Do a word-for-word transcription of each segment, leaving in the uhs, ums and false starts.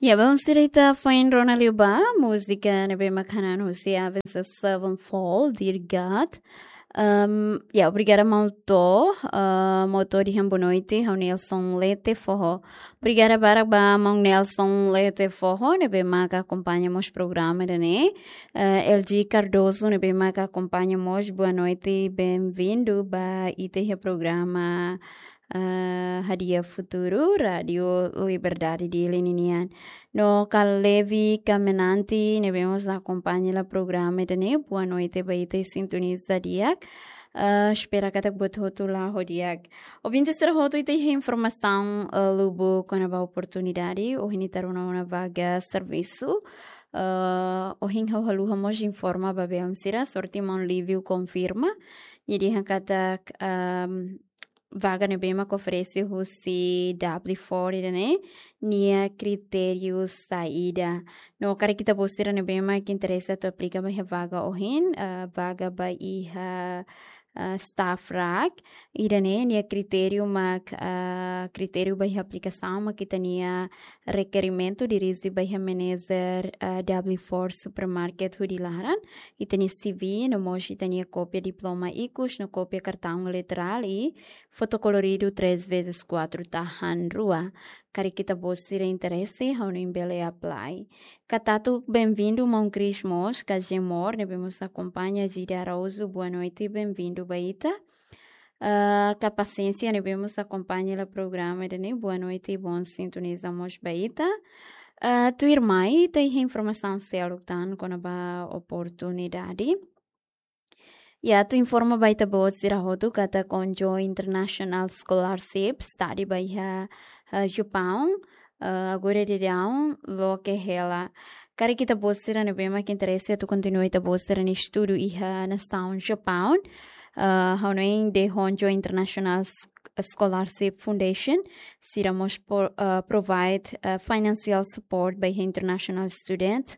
Ya, bom, sira ita foin rona liu ba múzika ne'ebé mak hanan husi Avenged Sevenfold, Dear God. Ahm, ya, obrigada maun Tó, ah, maun Tó dehan boa noite, ha'u Nelson Lete Foho. Obrigada barak ba maun Nelson Lete Foho ne'ebé mak akompaña mós programa ida-ne'e. Eh, L G Cardoso ne'ebé mak akompaña mós, boa noite, bem-vindo ba ita iha programa, eh, Hadi'a Futuru, Rádio Liberdade Dili ninian. No Kalevi Kamenanti ne'ebé mós akompaña hela programa ida-ne'e, boa noite ba ita, sintoniza di'ak. Eh, espera katak buat hotu la'o di'ak. Ouvinte sira hotu, ita iha informasaun, eh, lubuk kona-ba oportunidade, ohin ita rona ona vaga servisu. Eh, ohin ha'u haluha mós informa ba belun sira, sorte maun Lívio konfirma. Nia dehan katak, ehm, vaga ne'ebé mak oferese husi W four ida-ne'e, nia kritériu saida. No karik ita-boot sira ne'ebé mak interese atu aplika ba iha vaga ohin, eh, vaga ba iha, eh, staff rak. Ida-ne'e nia kritériu mak, eh, kritériu ba iha aplikasaun mak ita-nia rekerimentu dirije ba iha manager, eh, W four Supermarket hodi laran. Ita-nia C V, no mós ita-nia kópia diploma ikus, no kópia kartaun elektorál i foto koloridu três vezes quatro tahan rua. Karik ita-boot sira interese, ha'u-nia bele apply. Katak atu bem-vindo maun Chris mós, Kazemor ne'ebé mós akompaña, Gida Araújo, boa noite, bem-vindo ba ita. Ah, ka Pasiénsia ne'ebé mós akompaña hela programa ida-ne'e, boa noite, bom sintoniza mós ba ita. Ah, tuirmai, ita iha informasaun seluk tan kona-ba oportunidade. Ya, atu informa ba ita-boot sira hotu katak Konjo International Scholarship, study ba iha, eh, Japaun, eh, agora daudaun loke hela. Karik ita-boot sira ne'ebé mak interese atu kontinua ita-boot sira-nia estudu iha nasaun Japaun, eh, hanoin The Honjo International S-, Scholarship Foundation, sira mós por, eh, provide, eh, financial support ba iha international student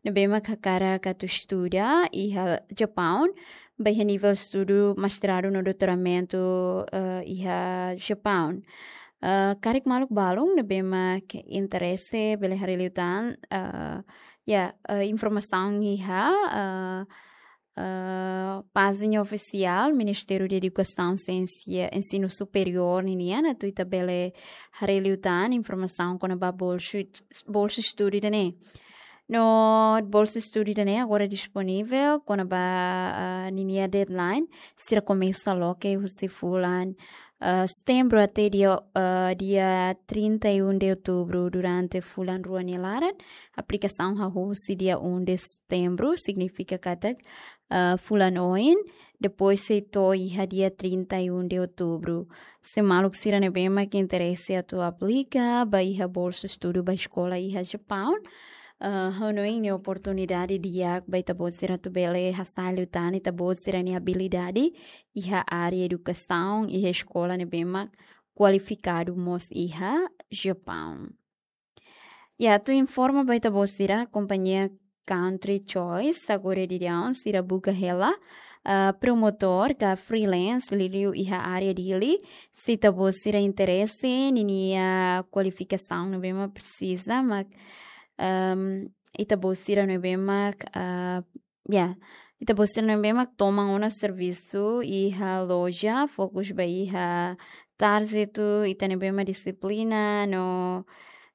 ne'ebé mak hakarak atu estuda iha Japaun, ba iha nivel estudu mestradu no doutoramentu, eh, iha Japaun. Eh, karik maluk balun ne'ebé mak interese, bele haree liután, eh, ya, eh, informasaun iha, eh, eh, pájina ofisiál Ministériu Edukasaun, Siénsia, Ensinu Superiór ninian, atu ita bele haree liután informasaun kona-ba bolsu, bolsu estudu ida-ne'e. No bolsu estudu ida-ne'e agora disponivel, kona-ba, ah, ninia deadline, sira komesa loke husi fulan, ah, setembru até dia, ah, dia trinta e um de outubro, durante fulan rua nia laran. Aplikasaun hahú husi dia um de setembro, signifika katak, ah, fulan oin, depois sei to'o iha dia trinta e um de outubro. Se maluk sira ne'ebé mak interese atu aplika ba iha bolsu estudu ba eskola iha Japaun, ah, hanoin ne'e oportunidade di'ak ba ita-boot sira atu bele hasai liután ita-boot sira-nia abilidade iha área edukasaun, iha eskola ne'ebé mak kualifikadu mós iha Japaun. Ya, atu informa ba ita-boot sira, kompañia Country Choice, agora daudaun, sira buka hela, ah, promotór ka freelance, liuliu iha área Dili, se ita-boot sira interese, ninia kualifikasaun ne'ebé mak presiza, mak, ehm, ita-boot sira ne'ebé mak, ah, ya, ita-boot sira ne'ebé mak toman ona servisu iha loja, fokus ba iha tarjetu, ita ne'ebé mak dixiplina, no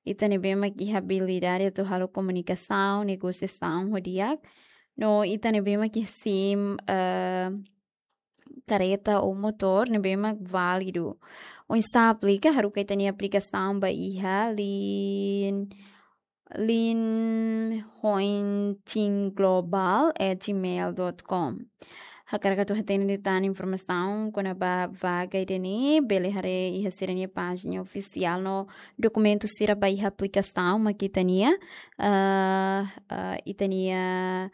ita ne'ebé mak iha abilidade atu halo komunikasaun, negosiasaun ho di'ak, no ita ne'ebé mak iha sim, eh, kareta ou motór ne'ebé mak válidu. Oinsá aplika, haruka ita-nia aplikasaun ba iha lin, lin hointinglobal at gmail dot com. Hakarak atu hatene liután informasaun kona-ba vaga ida-ne'e, bele haree iha sira-nia pájina ofisiál no dokumentu sira ba iha aplikasaun mak ita-nia, ah, ah, ita-nia,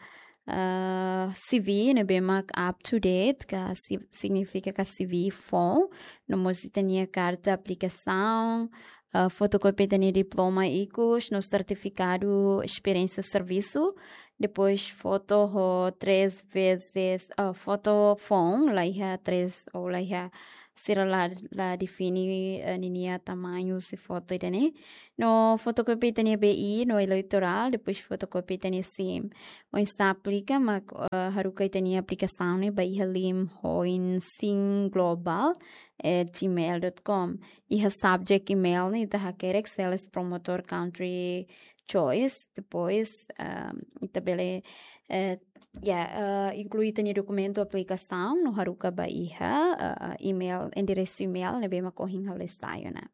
ah, C V ne'ebé mak up to date, ka si-, signifika ka C V foun, no mós ita-nia karta aplikasaun, ah, fotokópia ita-nia diploma ikus, no sertifikadu esperiénsia servisu, depois foto ho três vezes, ah, foto foun, laiha três ou laiha sira la, la define, eh, ninia tamañu husi foto ida-ne'e. No fotokópia ita-nia B I no eleitorál, depois fotokópia ita-nia sim. Oinsá aplika, mak, eh, haruka ita-nia aplikasaun ne'e ba iha lim hoin sim global at gmail dot com. Iha subject email ne'e ita hakerek sales promotor country choice, depois, ehm, ita bele, eh, ya, eh, inklui ita-nia dokumentu aplikasaun no haruka ba iha, eh, email, enderesu email ne'ebé mak ohin ha'u lesa ona.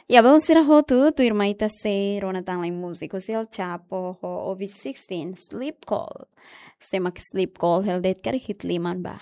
Ya, bom, sira hotu, tuirmai ita sei rona tan lai múzika husi El Chapo ho Ovid Sixteen, Sleep Call. Sé mak Sleep Call, hela de'it karik hi'it liman ba.